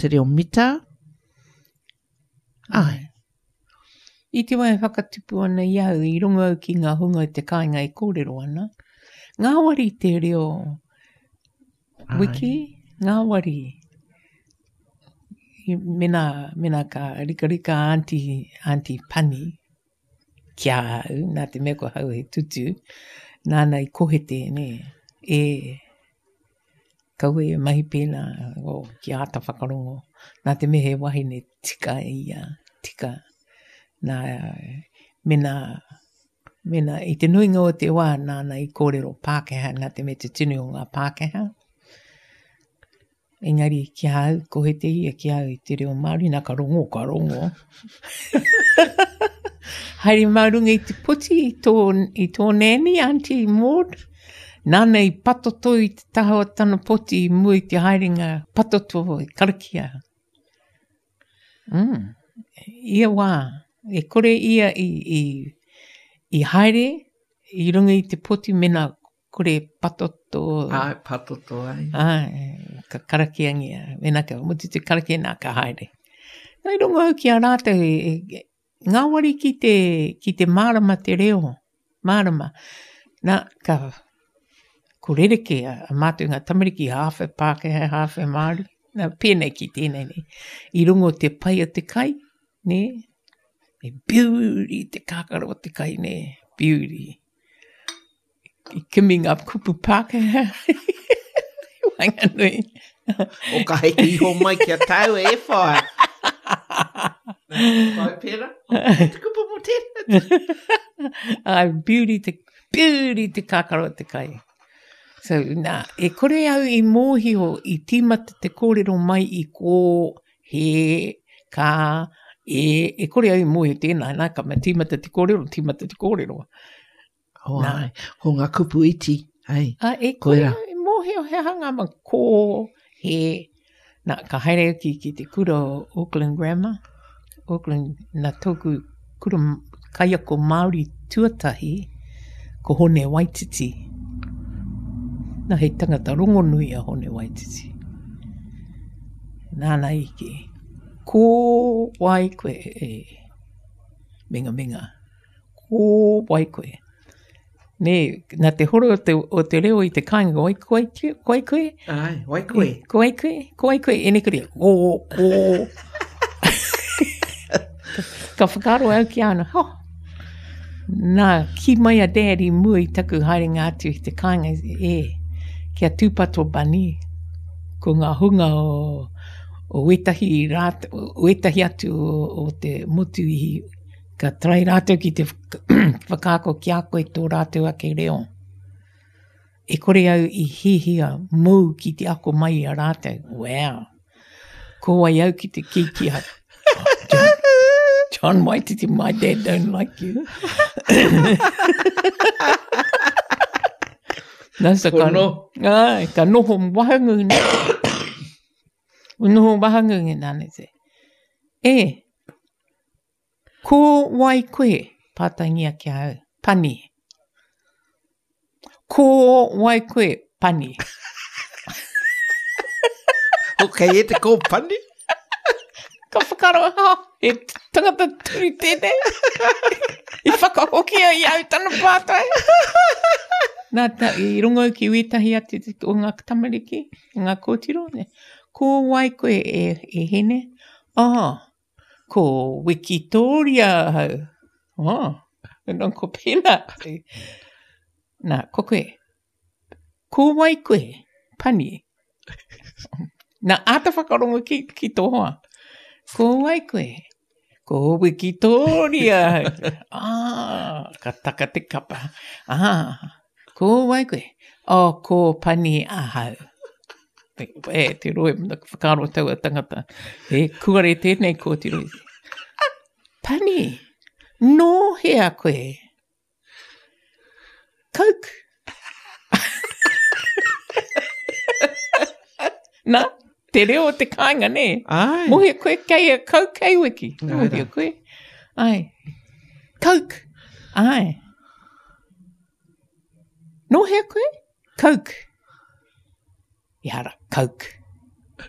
Te reo mita. Ai. I te wā e whakatupu ana i au, i rongo au ki ngā hunga i te kāinga e kōrero ana. Ngāwari te reo wiki, ngāwari. Mena, mena ka rikarika aunty, aunty Pani ki a au, nā te mea ko hau he tutu, nāna i kohete, nē, e, Kaua e mahi pēnā, oh, ki āta whakarongo. Nā te mea he wahine tika ia, tika. Nā, mena, mena, i te nuinga o te wā nāna i kōrero Pākehā, nā te mea te tini o ngā Pākehā. Engari ki a au, kohete ia ki a au i te reo Māori, nā ka rongo, ka rongo. Haere mā runga i te poti i tō, i tō nanny, Auntie Maud. Nāna i patoto i te taha o tana poti i mua i te haerenga patoto i karakia. Mm. Ia wā, e kore ia i, i, i haere i runga i te poti mena kore patoto. Ai, patoto ai. Ai, ka karakiangia. Mena ka mutu te karakia nā ka haere. Nā i rongo au ki a rātou e, e, ngāwari ki te, ki te mārama te reo. Mārama. Nā, ka, ko rerekē a, a mātou ngā tamariki hāwhe Pākehā, hāwhe Māori. Nā, pēnei ki tēnei nei. I rongo te pai o te kai, nē? E beauty te kākaro o te kai, nē? Beauty. I kimi ngā kupu Pākehā. Waenganui. O ka heke iho mai ki a tāu e whae. Whai pera. Te kupu mo tēnā. Ai, beauty te, beauty te kākaro te kai. So, nā, e kore au i mōhio i tīmata te kōrero mai i kō, he, ka, e, e kore au i mōhio tēnā, nā, ka mea tīmata te kōrero, tīmata te kōrero. Oh, Nā. ai, ko ngā kupu iti, ai. A, e kore au i mōhio he aha ngā ma kō, he, nā, ka haere au ki, ki te kura o Auckland Grammar, Auckland, nā tōku kura kaiako Māori tuatahi, ko Hone Waititi. Nā, he tangata rongonui a Hone Waititi. Nāna i kī, ko wai koe e mingaminga. Ko wai koe? Nē, nā te horo o te, o te reo i te kāinga, wai, ko wai, ko wai koe? Ai, wai koe. Ko wai koe? Ko wai koe? Ene kore, o, o. Ka whakaaro au ki ana, ho. Nā, ki mai a Dad i mua i taku haerenga atu i te kāinga, e, kia tūpato Bunny, ko ngā hunga o, o wētahi rā, o wētahi atu o, o te motu i Ka try rātou ki te whakaako ki a koe tō rātou ake reo. E kore au i hihia mōu ki te ako mai i a rātou. Wow! Ko wai au ki te kī ki a John, John Waititi, my dad don't like you. Nā, so ka, no. ai, ka noho wahangu nei. Noho wahangu nā, te. E, Ko wai koe? Pātaingia ki a au. Pani. Ko wai koe? Pani. Ok, e te ko pani? Ka whakaaro, ha, he tangata turi tēnei. I whakahoki ai i au tana pātai. Nā, ta, i rongo au ki wētahi atu o ngā tamariki, ngā kōtiro, ne. Ko wai koe e, e hine? Oh, Ko Wikitōria ahau. Oh, nō ko pēnā. Nā, ko koe. Ko wai koe? Pani. Nā, āta whakarongo ki, ki tō hoa. Ko wai koe? Ko Wikitōria ahau. Ah, ka taka te kapa. Ah, ko wai koe? Oh, ko Pani ahau. E, te roe, whakaaro taua tangata. E, kuare tēnei kōtiro. Pani, nō hea koe? Coke. Nā, te reo o te kāinga, nē? Ai. Mohi koe kei a Coke kei wiki. Mohi koe. Ai. Coke. Ai. Nō hea koe? Coke. Ehara, Coke.